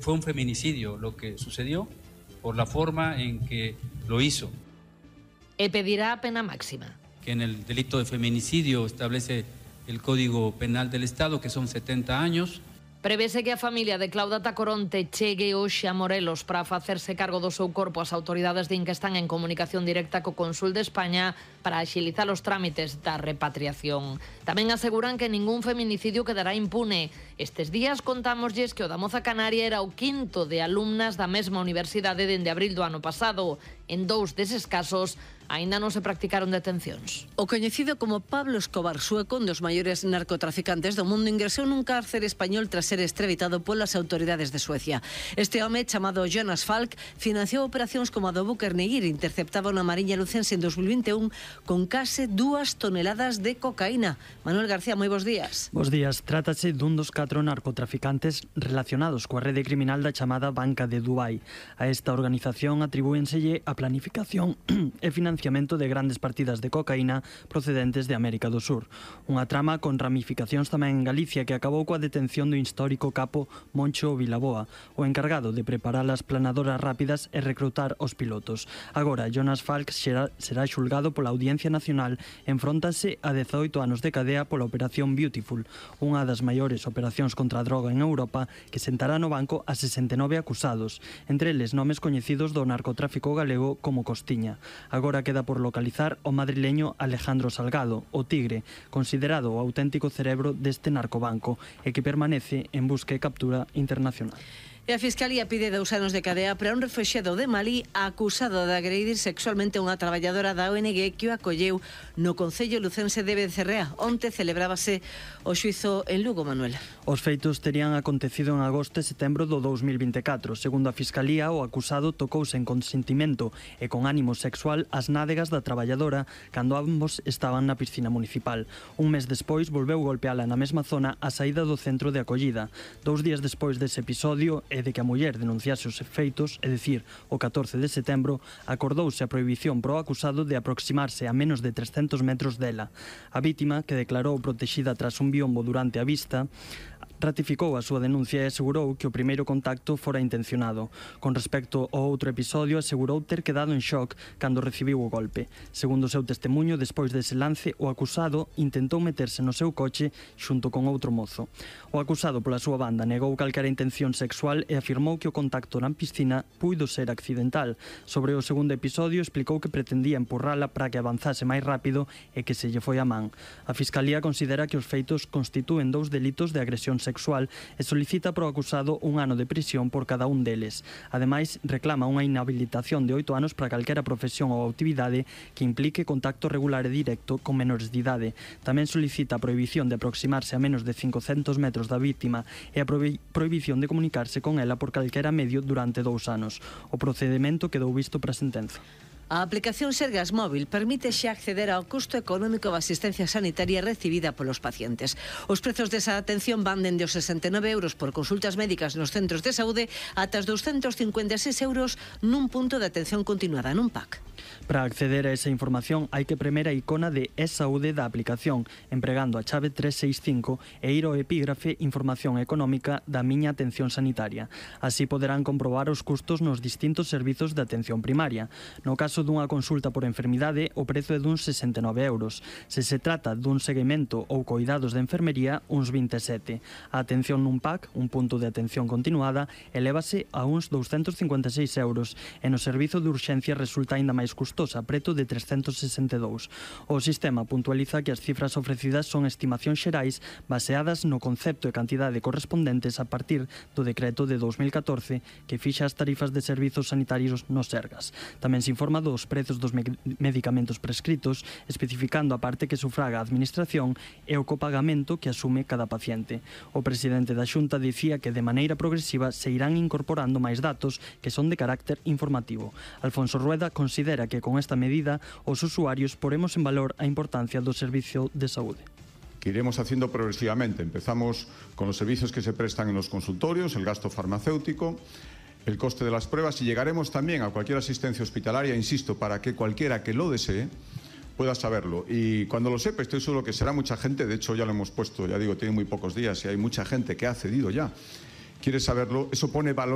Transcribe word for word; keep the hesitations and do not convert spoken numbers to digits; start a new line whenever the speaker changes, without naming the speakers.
fue un feminicidio lo que sucedió por la forma en que lo hizo.
E pedirá pena máxima.
Que en el delito de feminicidio establece el Código Penal del Estado, que son setenta años.
Prevese que a familia de Claudia Tacoronte chegue hoxe a Morelos para facerse cargo do seu corpo. As autoridades din que están en comunicación directa co Cónsul de España para axilizar os trámites da repatriación. Tamén aseguran que ningún feminicidio quedará impune. Estes días contámoslles que o da Moza Canaria era o quinto de alumnas da mesma universidade dende abril do ano pasado. En dous deses casos aínda non se practicaron detencións.
O coñecido como Pablo Escobar sueco, un dos maiores narcotraficantes do mundo, ingresou nun cárcere español tras ser extraditado polas autoridades de Suecia. Este home, chamado Jonas Falk, financiou operacións como a do buque Erneguir, interceptaba na Mariña Lucense en dos mil vinte e un con case dúas toneladas de cocaína. Manuel García, moi bons días.
Bos días. Trátase dun dos catro narcotraficantes relacionados coa rede criminal da chamada Banca de Dubai. A esta organización atribúenselle a planificación e financiamento de grandes partidas de cocaína procedentes de América do Sur. Unha trama con ramificacións tamén en Galicia que acabou coa detención do histórico capo Moncho Vilaboa, o encargado de preparar as planadoras rápidas e recrutar os pilotos. Agora, Jonas Falk será, será xulgado pola Audiencia Nacional, enfróntase a dezoito anos de cadea pola Operación Beautiful, unha das maiores operacións contra a droga en Europa que sentará no banco a sesenta e nove acusados, entre eles nomes coñecidos do narcotráfico galego como Costiña. Agora queda por localizar o madrileño Alejandro Salgado, o Tigre, considerado o auténtico cerebro deste narcobanco e que permanece en busca e captura internacional.
E a Fiscalía pide dous anos de cadea para un refuxiado de Malí acusado de agredir sexualmente a unha traballadora da O N G que o acolleu no Concello Lucense de Becerrea. Onte celebrábase o xuizo en Lugo, Manuel.
Os feitos terían acontecido en agosto e setembro do dous mil vinte e catro. Segundo a Fiscalía, o acusado tocouse en consentimento e con ánimo sexual as nádegas da traballadora cando ambos estaban na piscina municipal. Un mes despois volveu golpeala na mesma zona á saída do centro de acollida. Dous días despois dese episodio e de que a muller denunciase os feitos, é dicir, o catorce de setembro, acordouse a prohibición pro acusado de aproximarse a menos de trescentos metros dela. A vítima, que declarou protexida tras un biombo durante a vista, ratificou a súa denuncia e asegurou que o primeiro contacto fora intencionado. Con respecto ao outro episodio, asegurou ter quedado en shock cando recibiu o golpe. Segundo o seu testemunho, despois dese lance, o acusado intentou meterse no seu coche xunto con outro mozo. O acusado, pola súa banda, negou calquera intención sexual e afirmou que o contacto na piscina puido ser accidental. Sobre o segundo episodio, explicou que pretendía empurrala para que avanzase máis rápido e que se lle foi a man. A Fiscalía considera que os feitos constitúen dous delitos de agresión sexual e solicita pro acusado un ano de prisión por cada un deles. Ademais, reclama unha inhabilitación de oito anos para calquera profesión ou actividade que implique contacto regular e directo con menores de idade. Tamén solicita a prohibición de aproximarse a menos de cincocentos metros da vítima e a prohibición de comunicarse con ela por calquera medio durante dous anos. O procedimento quedou visto para sentenza.
A aplicación Sergas Móvil permite xa acceder ao custo económico da asistencia sanitaria recibida polos pacientes. Os prezos desa atención van dende os sesenta e nove euros por consultas médicas nos centros de saúde ata os douscentos cincuenta e seis euros nun punto de atención continuada, nun P A C.
Para acceder a esa información hai que premer a icona de e-saúde da aplicación, empregando a chave tres seis cinco e ir ao epígrafe Información económica da miña atención sanitaria. Así poderán comprobar os custos nos distintos servizos de atención primaria. No caso dunha consulta por enfermidade, o prezo é duns sesenta e nove euros. Se se trata dun seguimento ou coidados de enfermería, uns vinte e sete. A atención nun P A C, un punto de atención continuada, elévase a uns douscentos cincuenta e seis euros e no servizo de urxencia resulta aínda máis custosa, preto de trescentos sesenta e dous. O sistema puntualiza que as cifras ofrecidas son estimacións xerais baseadas no concepto e cantidade correspondentes a partir do decreto de dous mil catorce que fixa as tarifas de servizos sanitarios nos Sergas. Tamén se informa dos prezos dos medicamentos prescritos, especificando a parte que sufraga a administración e o copagamento que asume cada paciente. O presidente da Xunta dicía que de maneira progresiva se irán incorporando máis datos que son de carácter informativo. Alfonso Rueda considera que con esta medida os usuarios poremos en valor a importancia do servicio de saúde.
Que iremos haciendo progresivamente. Empezamos con los servicios que se prestan en los consultorios, el gasto farmacéutico, el coste de las pruebas y llegaremos también a cualquier asistencia hospitalaria, insisto, para que cualquiera que lo desee pueda saberlo. Y cuando lo sepa, estoy seguro que será mucha gente, de hecho ya lo hemos puesto, ya digo, tiene muy pocos días y hay mucha gente que ha accedido ya. Quiere saberlo, eso pone valor